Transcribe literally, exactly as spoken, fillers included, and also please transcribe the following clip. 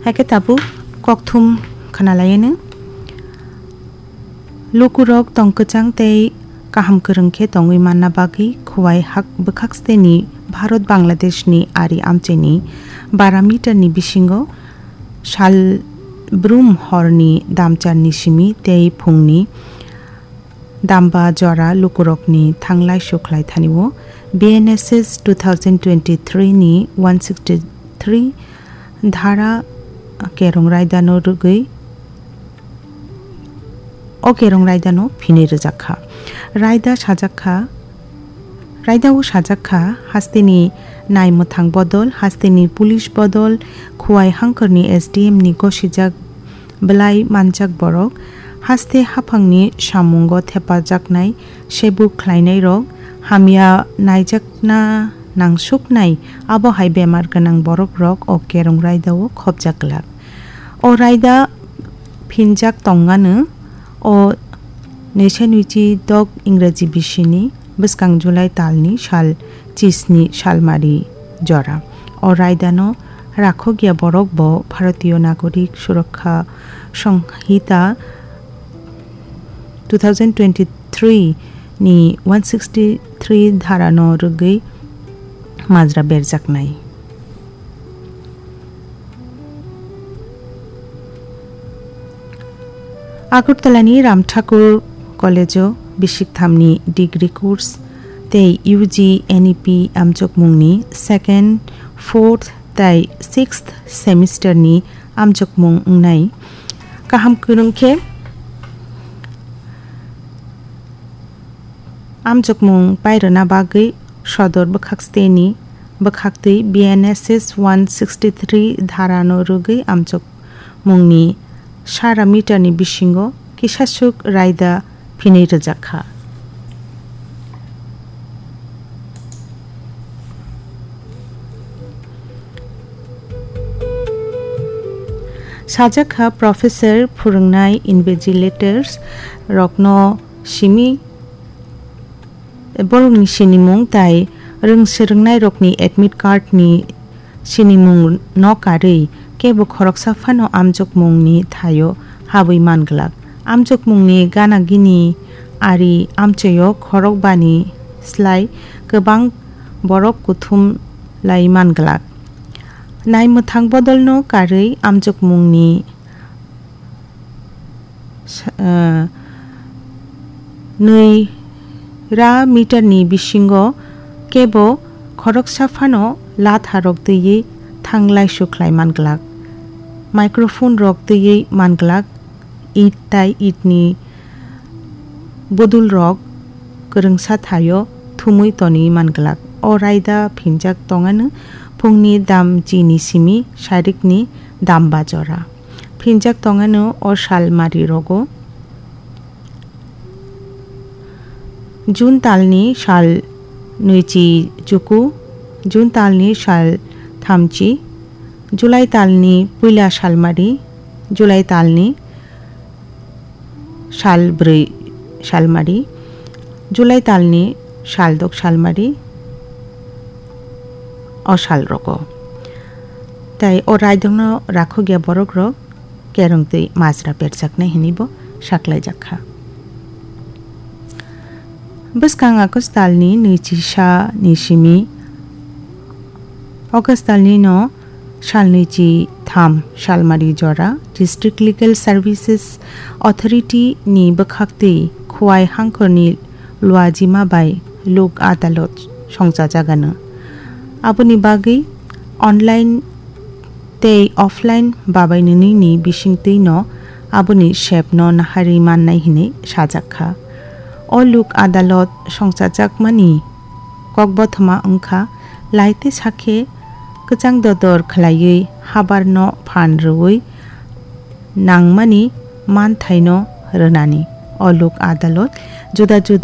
Haikhe tabuk kokthum khwnalaiyano. Lukurok tong kwchang tei kaham kwrwng khe tongwi manna bagwi Khowai hak bwkhak steni Bharat Bangladeshni ari amchaini bara meterni bisingo sal brum horni damcharni simi tei phungni damba jora lukurokni thanglai sukhlai thani o B N S S two thousand twenty-three ni one sixty-three dhara kerong raidano rwgwi o kerong raidano phinwi rwjak kha. Raida sajak kha, raida o sajak kha, hasteni naimwthang bodol, hasteni police bodol, Khowai hangkhorni S D M ni gosijak belai manjak borok, haste haphangni samungo thepajaknai, sebuk khlainairok, hamya naijakna nangsuknai, abo hai bemar gwnang borokrok o kerong raidao khopjak glak. O raida phinjak tongano o nwisainwichi dok Ingraji bisini bwskang July talni sal chisni salmari jora. O raidano rakhokya borok bo Bharatiyo Nagorik Surakha Songhita two thousand twenty-three ni one sixty-three dharano rwgwi majra berjaknai. Agartalani Ram Thakur College-o bisik thamni degree course tei U G N E P amchokmungni second, fourth tei sixth semester-ni amchokmung wngnai. Kaham kwrwng khe amchokmung pairwna bagwi sodor bwkhak steni bwkhaktwi B N S S one sixty-three dharano rwgwi amchokmungni sara meterni bisingo kisaswk raida phinwi rwjak kha. Sajak kha professor, phwrwngnai, invigilators rokno simi borokni sinimung tai rwng swrwngnairokni admit card ni sinimung no karwi kebo khoroksa phano amchokmungni thaio habwi man glak. Amchokmungni gana gini ari amchaio khorokbani slai kwbang borok kuthum lai man glak. Naimwthang bodolno karwi amchokmungni sa-, eh, nwi ra meterni bisingo kebo khoroksa phano latharok twiwi thanglai sukhlai man glak. Microphone rok twiwi man glak. It tai itni bodol rok kwrwngsa thaio thumwi tonwi man glak. O raida phinjak tongano phungni dam chini simi sarikni dam bajora. Phinjak tongano o sal mari rogo. June talni sal nwichi chuku, June talni sal thamchi, July talni puila salmari, July talni sal bwrwi salmari, July talni sal dok salmari, o sal rogo. Tai o raidokno rakhokya borok rok kerong twi majra perjaknai hinwi bo saklaijak kha. Bwskang August talni nwichi sa ni simi, August talni no salnwi chi tham salmari jora District Legal Services Authority ni bwkhaktwi Khowai hangkhorni luajima bai lok adalot songchajagano. Aboni bagwi online tei offline babainwini ni bisingtwi no aboni sep no naharwi mannai hinwi sajak kha. O lok adalot songchajakmani kokbothoma wngkha laite sakhe kwchang dodor khwlaiwi habarno phan rwui nangmani manthaino rwnani. O lok adalot juda juda